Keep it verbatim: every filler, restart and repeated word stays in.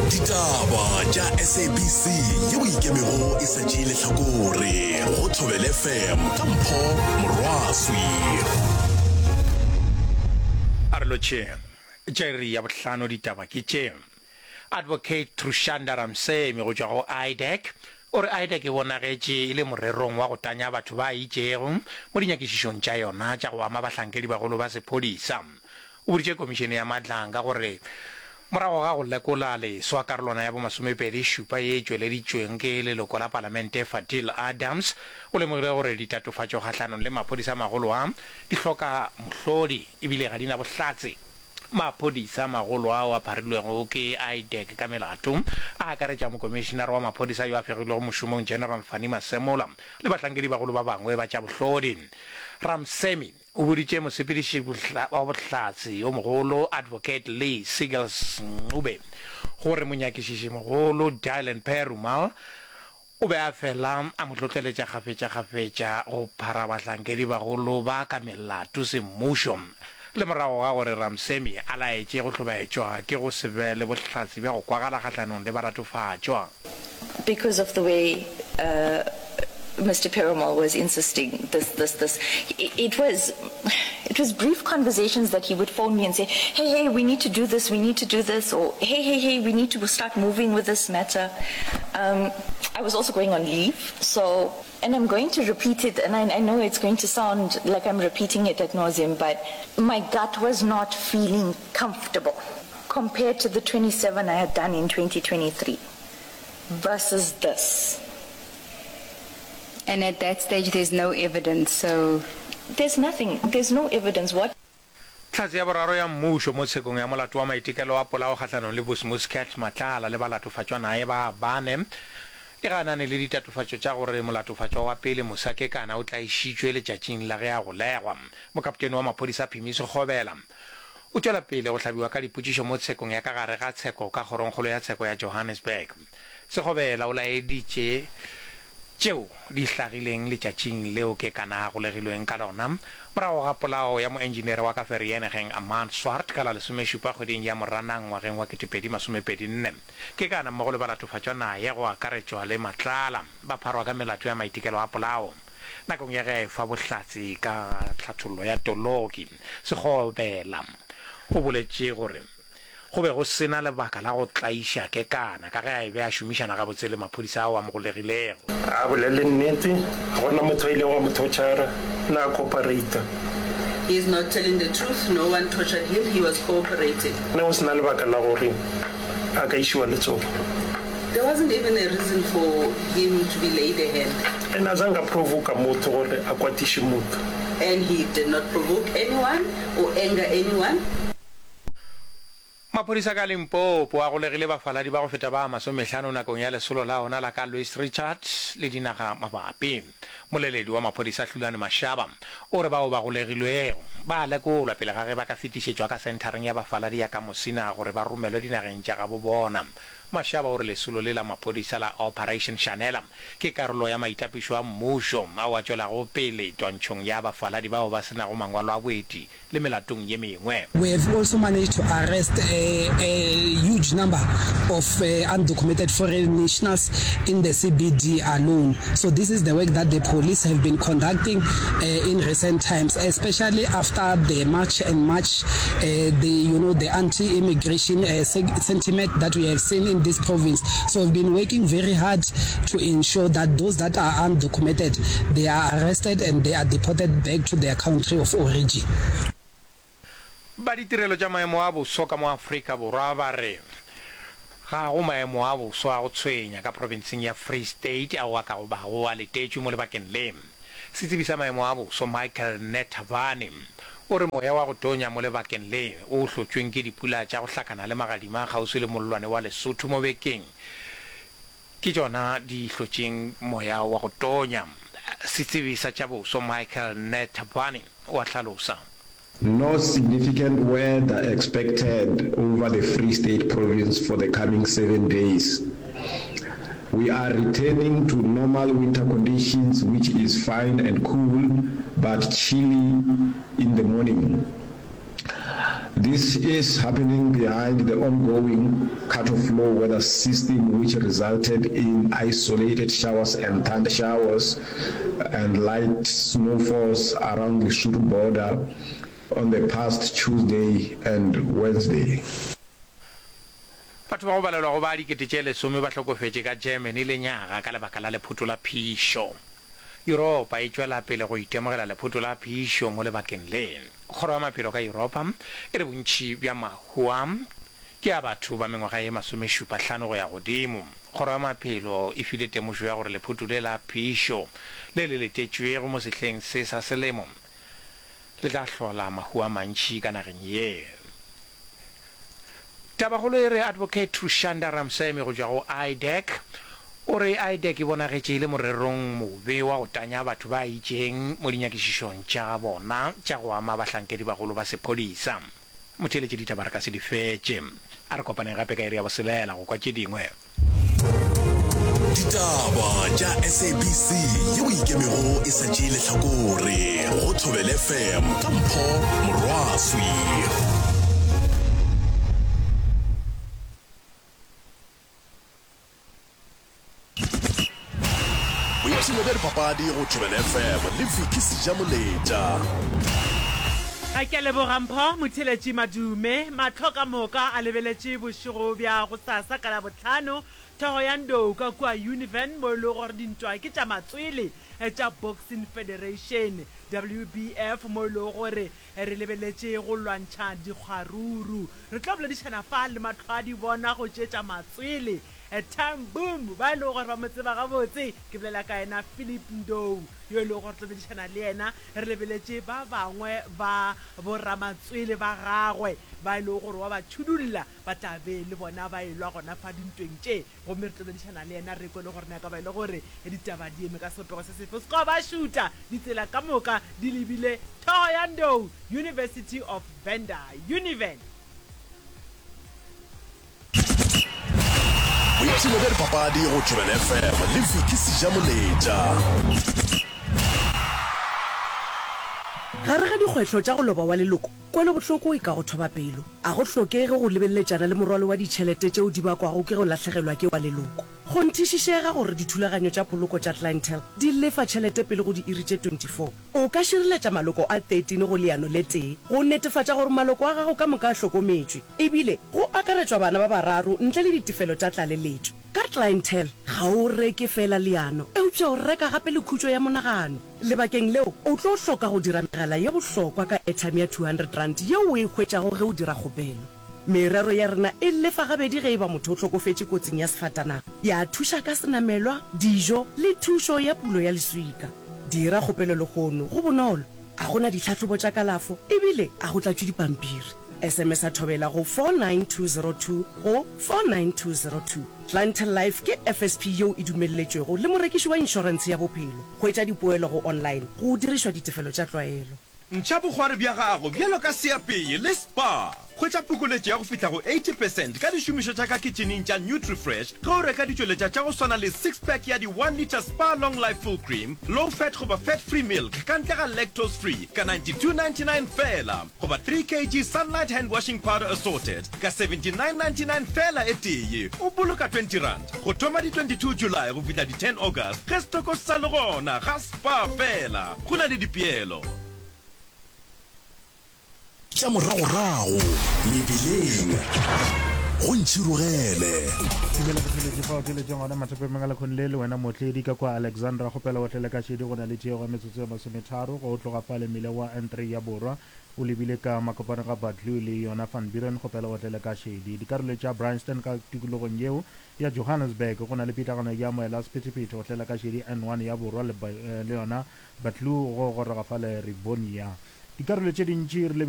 Ditaba tša S A B C yeo e ikemego e sa tšee lehlakore go Thobela F M ka Mpho Morwaswi. A re lotšheng. Tša iri ya bohlano ditaba ke tše. Advocate Trushanda Ramsamy go tšwa go IDAC o re IDAC e bonagetše e le morerong wa go tanya batho ba itšego mo dinyakišišong tša yona tša go ama bahlankedibagolo ba sephodisa. O boditše Komišene ya Madlanga gore morago ga go lekola leswa karolwana ya bomasomepedi šupa ye e tšweleditšweng ke leloko la palamente Fadil Adams, o lemogile gore ditatofatšo kgahlanong le maphodisa a magolo a di hloka mohlodi ebile ga di na bohlatse. Maphodisa a magolo ao a pharilwego ke IDAC ka melato a akaretša mokomišenare wa maphodisa yo a fegilwego mošomong General Fannie Masemola le bahlankedibagolo ba bangwe ba tša bohlodi. Ramsamy o boditše mosepediši wa bohlatse yo mogolo Advocate Lee Seagulls Ncube gore monyakišišimogolo Dylan Perumal o be a fela a mo hlohleletša kgafetšakgafetša go phara bahlankedibagolo ba ka melato semmušo le morago ga gore Ramsamy a laetše go hlobaetšwa ke go se be le bohlatse bja go kwagala kgahlanong le balatofatšwa. Because of the way uh, Mister Perumal was insisting this, this, this. It, it was, it was brief conversations that he would phone me and say, hey, hey, we need to do this, we need to do this, or hey, hey, hey, we need to start moving with this matter. Um, I was also going on leave, so, and I'm going to repeat it, and I, I know it's going to sound like I'm repeating it ad nauseum, but my gut was not feeling comfortable compared to the twenty-seven I had done in twenty twenty-three versus this. And at that stage, there's no evidence, so. There's nothing, there's no evidence. What Hlatse ya boraro ya mmušo mo tshekong ya molato wa maitekelo a polao kgahlanong le Vusimuzi Cat Matlala le balatofatšwa naye ba bane e ganane le ditatofatšo tša gore molatofatšwa wa pele Musa Kekana o tlaišitšwe letšatšing la ge a golegwa. Mokapotene wa maphodisa Phimi Sekgobela o tšwela pele go hlabiwa ka dipotšišo mo tshekong ya ka gare ga tsheko ka kgorongkgolo ya tsheko ya Johannesburg. Sekgobela o laeditše tšeo di hlagileng letšatšing leo Kekana a golegilweng ka lona morago ga polao ya moenjinere wa ka Vereeniging Armand Swart ka la lesomešupa kgweding ya Moranang ngwageng wa ketepedi masomepedi nne. Kekana mmogo le balatofatšwa naye go akaretšwa le Matlala ba pharwa ka melato ya maitekelo a polao. Nakong ya ge a efa bohlatse ka tlhathollo ya toloki, Sekgobela o boletše gore go be go se na lebaka la go tlaiša Kekana ka ge a be a šomišana gabotse le maphodisa ao a mo golegilego. A bolele nnete, ga gona motho a ilego a mo torture-ra, na a cooperate-a. He is not telling the truth, no one tortured him, he was cooperating. Ne go se na lebaka la gore a ka išiwa letsogo. There wasn't even a reason for him to be laid a hand. And a zange a provoka motho gore a kwatiše motho. And he did not provoke anyone or anger anyone. Maphodisa ka Limpopo a golegile bafaladi ba go feta ba masomehlano nakong ya lesolo la ona la ka Louis Trichardt le dinaga mabapi. Moleledi wa maphodisa Hlulani Mashaba o re bao ba golegilwego ba a lekolwa pele ga ge ba ka fetišetšwa ka senthareng ya bafaladi ya ka Musina gore ba romelwe dinageng tša gabo bona. Mashaba o re lesolo le la maphodisa la Operation Shanela ke karolo ya maitapišo a mmušo ao a tšwelago pele twantšhong ya bafaladi bao ba se nago mangwalo a boeti le melatong ye mengwe. We have also managed to arrest a, a huge number of uh, undocumented foreign nationals in the C B D alone. So this is the work that the police have been conducting uh, in recent times, especially after the March and March, uh, the you know the anti-immigration uh, sentiment that we have seen in this province. So we've been working very hard to ensure that those that are undocumented, they are arrested and they are deported back to their country of origin. Ba ditirelo tša maemo a boso ka mo Afrika Borwa ba re ga go maemo a boso a go tshwenya ka profenseng ya Free State ao a ka go bago a letetšwe mo lebakeng le. Setsebi sa maemo a boso Michael Netavane o re moya wa go tonya mo lebakeng le o hlotšweng ke dipula tša go hlakana le magadima kgauswi le mollwane wa Lesotho mo bekeng ke tšona di hlotšeng moya wa go tonya. Setsebi sa tša boso Michael Netavane o a hlalosa. No significant weather expected over the Free State province for the coming seven days. We are returning to normal winter conditions, which is fine and cool, but chilly in the morning. This is happening behind the ongoing cut-off low weather system which resulted in isolated showers and thunder showers and light snowfalls around the Lesotho border on the past Tuesday and Wednesday. Batho ba go balelwa go ba dikete tše lesome ba hlokofetše ka Germany lenyaga ka lebaka la lephoto la phišo. Yuropa e tšwela pele go itemogela lephoto la phišo mo lebakeng le. Kgoro ya Maphelo ka Yuropa e re bontši bja mahu a ke a batho ba mengwaga ye masomešupa hlano go ya godimo. Kgoro ya Maphelo e file temošo ya gore lephoto le la phišo le le letetšwego mo sehleng se sa selemo le tla hlola mahu a mantši ka nageng ye. Tabakgolo e re Advocate Trushanda Ramsamy go tšwa go IDAC o re IDAC e bonagetše e le morerong mobe wa go tanya batho ba itšeng mo dinyakišišong tša bona tša go ama bahlankedibagolo ba sephodisa. Motheeletši ditaba re ka se di fetše. A re kopaneng gape ka iri ya boselela go kwa tše dingwe. Ditaba tša SABC yeo e ikemego e sa tšee lehlakore go Thobela FM ka Mpho Morwaswi. Boipshino bja dipapadi go Thobela FM le Vicky Sejamoletša. Ke a leboga Mpho Motheeletši Madume. Mahlo ka moka a lebeletše bošego bja gosasa ka Labohlano Thohoyandou ka kua Univen mo e lego gore dintwa ke tša matswele tša Boxing Federation, WBF, mo e lego gore re lebeletše go lwantšha dikgwaruru. Re tlo boledišana fa le mahlwadibona go tše tša matswele Time Boom ba e lego gore ba mo tseba gabotse. Ke bolela ka yena Philip Ndou yo e lego gore tlo boledišana le yena re lebeletše ba bangwe ba boramatswele ba gagwe ba e lego gore wa ba tšhudulla ba tla be le bona ba elwa gona fa dintweng tše gomme re tlo boledišana le yena re kwe le gore na ka ba e le gore ditaba di eme ka sebopego se sefe. O se ka wa ba šuta, ditsela ka moka di lebile Thohoyandou University of Venda, Univen. Boipshino bja dipapadi go Thobela FM le Vicky Sejamoletša. Gare ga dikgwetlho tša go loba wa leloko, kwelobohloko e ka go thoba pelo. A go hlokege go lebeleletšana le morwalo wa ditšhelete tšeo di bakwago ke go lahlegelwa ke wa leloko. Kgonthišišega gore dithulaganyo tša poloko tša Clientele di lefa tšhelete pele go diiri tše twenty four. O ka šireletša maloko a thirteen go leano le tee go netefatša gore maloko a gago ka moka a hlokometšwe, ebile go akaretšwa bana ba bararo ntle le ditefelo tša tlaleletšo. Ka Clientele, ga o reke feela leano, eupša o reka gape le khutšo ya monagano. Lebakeng leo, o tlo hloka go dira megala ye bohlokwa ka airtime ya two hundred rand yeo o e hwetšago ge o dira kgopelo. Merero ya rena e lefa gabedi ge e ba motho o hlokofetše kotsing ya sefatanaga, ya thuša ka senamelwa, dijo le thušo ya pulo ya leswika. Dira kgopelo lehono, go bonolo, ga go na ditlhahlobo tša kalafo e bile ga go tlatšwe dipampiri. S M S-a Thobela go four nine two zero two go four nine two zero two. Clientele Life ke F S P yeo e dumelletšwego le morekiši wa inšorentshe ya bophelo. Hwetša dipoelo go online go dirišwa ditefelo tša tlwaelo. Ntšha bokgwari bja gago bjalo ka seapei le Spar. Hwetša phokoletšo ya go fihla go eighty percent ka dišomišwa tša ka kitšhining tša Nutrifresh ge o reka ditšweletša tša go swana le six pack ya di one litre Spar Long Life Full Cream, Low Fat goba Fat Free Milk ka ntle ga Lactose Free ka ninety two ninety nine feela goba three K G Sunlight Hand Washing Powder Assorted ka seventy nine ninety nine feela e tee. O boloka twenty rand go thoma di twenty two July go fihla di ten August ge setoko se sa le gona ga Spar feela. Go na le dipeelo. Tša moragorago mebileng go ntšhirogele. Dumela botheletši fa o theletšeng gona mathapemeng a lekgong le le wena mootledi ka kwa Alexandra kgopela o tlele ka šedi go na le tiego ya metsotso ya masometharo go tloga fale mmileng wa N three ya borwa o lebile ka makopano ga Buccleuch le yona Van Buren kgopela o tlele ka šedi dikarolo tša Bryanston ka tikologong yeo ya Johannesburg go na le pitlagano ya moela sephethephethe go tlela ka šedi N one ya borwa le, le yona Buccleuch go goroga fale Rivonia dikarolo tše dintši re